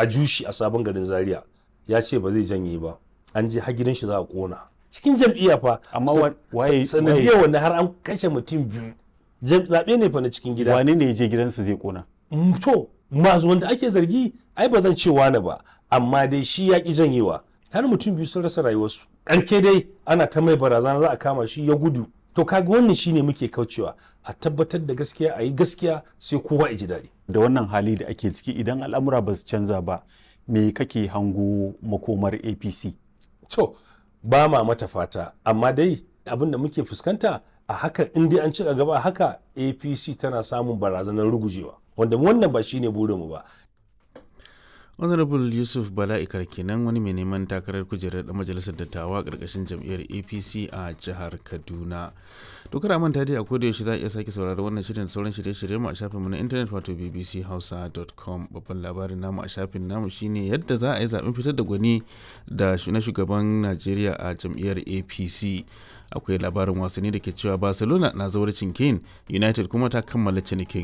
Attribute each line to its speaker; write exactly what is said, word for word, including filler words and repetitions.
Speaker 1: A Jushi a Sabon Garin Zaria, ya ce ba zai janye ba. An je har gidan shi za a kona. Cikin jam'iyya fa.
Speaker 2: Amma waye
Speaker 1: sanadiyar wanda har an kashe mutum biyu. Zaɓe ne fa na cikin gida.
Speaker 2: Wane ne ya je gidansa zai kona?
Speaker 1: To, masu wanda ake zargi ai ba zan ce wane ba, amma dai shi ya ki janyewa. Har mutum biyu sun rasa rayuwarsu. Ƙarke dai ana ta mai barazana za a kama shi, ya gudu. To kaga wannan shine muke kaucewa, a tabbatar da gaskiya, a yi gaskiya, sai kowa ya ji daɗi.
Speaker 2: Da wannan hali da ake ciki, idan al'amura ba su canza ba, me kake hango makomar A P C?
Speaker 1: To, ba ma mata fata, amma dai abin da muke fuskanta a haka, in dai an ci gaba haka, A P C tana samun barazanar rugujewa, wanda wannan ba shine burinmu ba.
Speaker 3: Honorable Yusuf Bala Ikar kenan, wani mai neman takarar kujerar dan majalisar dattawa karkashin jam'iyyar A P C a jihar Kaduna. To kada manta dai, a koda yaushe za a iya sake saurari wannan shirin da sauran shirye-shirye mu a shafinmu na intanet, wato B B C hausa dot com. Babban labarin namu a shafin namu shine yadda za a yi zaben fitar da gwani da na shugaban Najeriya a jam'iyyar A P C. Akwai labarin wasanni da ke cewa Barcelona na zawarcin Kane, United kuma ta kammala cinikin.